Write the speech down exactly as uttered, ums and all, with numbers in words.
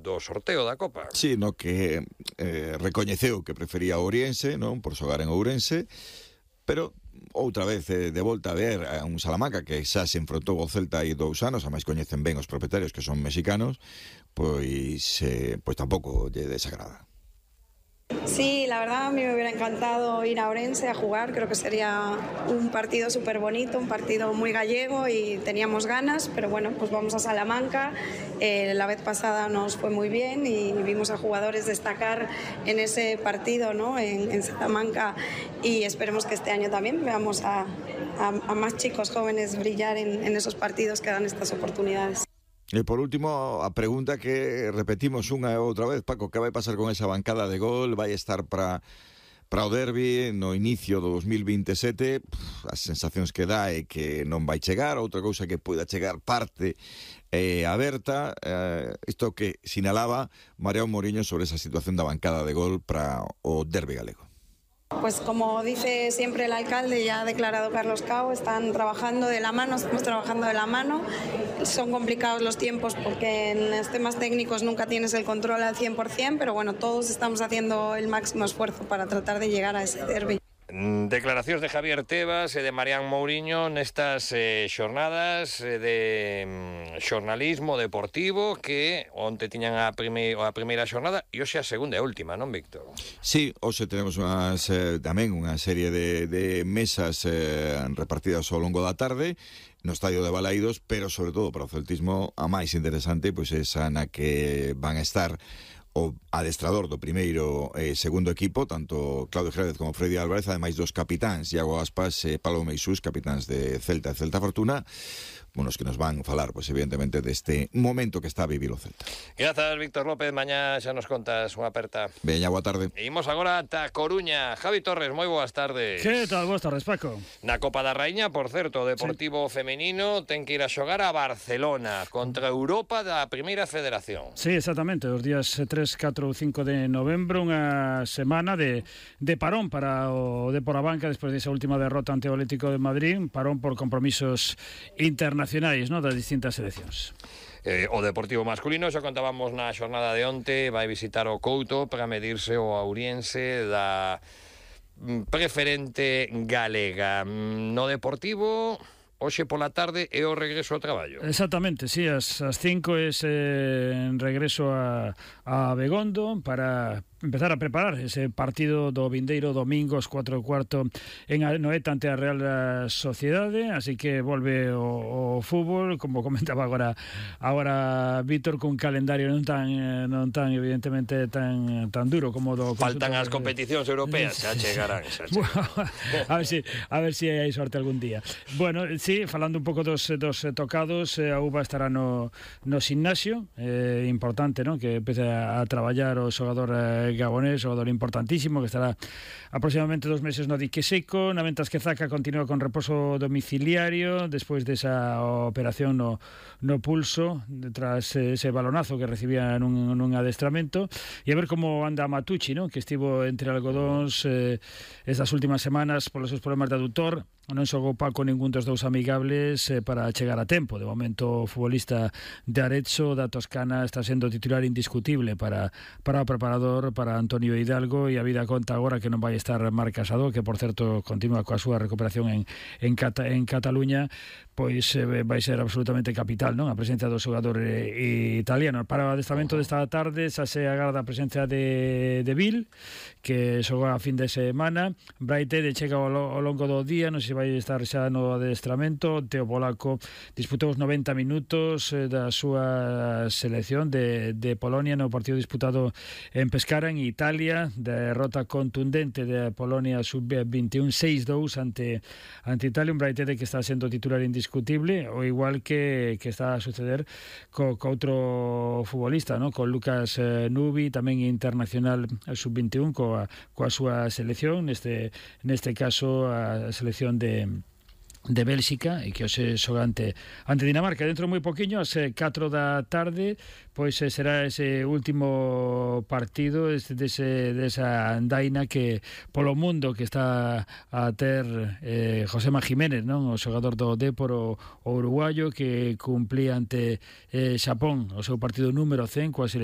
do sorteo da Copa. Sí, no que eh, recoñeceu que prefería Ourense, non, por xogar en Ourense, pero outra vez eh, de volta a ver a un Salamanca que xa se enfrontou ao Celta hai dous anos, a máis coñecen ben os propietarios que son mexicanos, pois eh, pois tampouco lle desagrada. Sí, la verdad a mí me hubiera encantado ir a Ourense a jugar, creo que sería un partido súper bonito, un partido muy gallego y teníamos ganas, pero bueno, pues vamos a Salamanca, eh, la vez pasada nos fue muy bien y vimos a jugadores destacar en ese partido, ¿no? en, en Salamanca, y esperemos que este año también veamos a, a, a más chicos jóvenes brillar en, en esos partidos que dan estas oportunidades. E por último, a pregunta que repetimos unha e outra vez, Paco, que vai pasar con esa bancada de gol? Vai estar para para o derbi no inicio do dos mil veintesete? Pff, as sensacións que dá é que non vai chegar, outra cousa que poida chegar parte eh, aberta, eh, isto que sinalaba Mariano Mourinho sobre esa situación da bancada de gol para o derbi galego. Pues como dice siempre el alcalde, ya ha declarado Carlos Cao, están trabajando de la mano, estamos trabajando de la mano. Son complicados los tiempos porque en los temas técnicos nunca tienes el control al cien por ciento, pero bueno, todos estamos haciendo el máximo esfuerzo para tratar de llegar a ese derbi. Declaracións de Javier Tebas e de Mariano Mourinho nestas eh, xornadas eh, de mm, xornalismo deportivo que onte tiñan a, prime, a primeira xornada e hoxe a segunda e última, non, Víctor? Sí, hoxe tenemos unhas, eh, tamén unha serie de, de mesas eh, repartidas ao longo da tarde no estadio de Balaídos, pero sobre todo para o celtismo a máis interesante pois esa na que van a estar o adestrador do primeiro e eh, segundo equipo, tanto Claudio Jerez como Freddy Álvarez, ademais dos capitáns Iago Aspas e Pablo Meisús, capitáns de Celta e Celta Fortuna, unos que nos van falar, pois evidentemente, deste momento que está a vivir o Celta. Grazas, Víctor López, mañá xa nos contas unha aperta. Veña, boa tarde. E imos agora ata Coruña. Javi Torres, moi boas tardes. Que tal, boas tardes, Paco. Na Copa da Raíña, por certo, o Deportivo sí. femenino ten que ir a xogar a Barcelona contra Europa da Primeira Federación. Sí, exactamente, os días tres, catro ou cinco de novembro, unha semana de, de parón para o Depor a Banca despois desa última derrota ante o Atlético de Madrid, parón por compromisos internacionais, ¿no?, das distintas seleccións. Eh, o Deportivo masculino, xa contábamos na xornada de onte, vai visitar o Couto para medirse o Ouriense da preferente galega. No Deportivo, hoxe pola tarde é o regreso ao traballo. Exactamente, sí, as, as cinco é eh, regreso a, a Begondo para empezar a preparar ese partido do vindeiro domingo aos cuatro e cuarto en Anoeta ante a Real Sociedade, así que volve o, o fútbol, como comentaba agora agora Víctor, cun calendario non tan non tan evidentemente tan tan duro como do faltan as competicións europeas, xa chegarán, xa chegarán. a ver si a ver si hai sorte algún día. Bueno, sí, falando un pouco dos dos tocados, a U B A estará no no gimnasio, eh, importante, ¿no?, que empece a, a traballar o xogador eh, gabonés, xogador importantísimo, que estará aproximadamente dos meses no dique seco, na mentas que Zaca continúa con reposo domiciliario despois desa operación no, no pulso tras ese balonazo que recibía nun, nun adestramento, e a ver como anda Matucci, ¿no?, que estivo entre algodóns eh, estas últimas semanas polos seus problemas de adutor. Non xogou Paco ningún dos dous amigables eh, para chegar a tempo. De momento o futbolista de Arezzo da Toscana está sendo titular indiscutible para, para o preparador, para Antonio Hidalgo, e a vida conta agora que non vai estar Marc Casado, que por certo continúa coa súa recuperación en, en, Cata, en Cataluña, pois eh, vai ser absolutamente capital, non?, a presencia do xogador eh, italiano. Para o adestramento desta tarde xa se agarda a presencia de, de Bill, que xogou a fin de semana. Braithwaite chega ao, ao longo do día, non sei se vai estar xa no adestramento. Teo Polaco disputou os noventa minutos eh, da súa selección de, de Polonia no partido disputado en Pescara, en Italia, derrota contundente de Polonia sub veintiún seis dous ante, ante Italia, un Braithwaite que está sendo titular indiscutible, o igual que, que está a suceder co, co outro futbolista, ¿no?, con Lucas eh, Nubi, tamén internacional sub veintiún coa, coa súa selección, neste, neste caso a selección de de Bélxica, e que hoxe xoga ante, ante Dinamarca. Dentro de moi poquinho, ás catro da tarde, pois será ese último partido ese, dese, desa andaina que polo mundo que está a ter eh, Josema Jiménez, non?, o xogador do Depor, o, o uruguayo, que cumplía ante eh, Xapón o seu partido número cen coa selección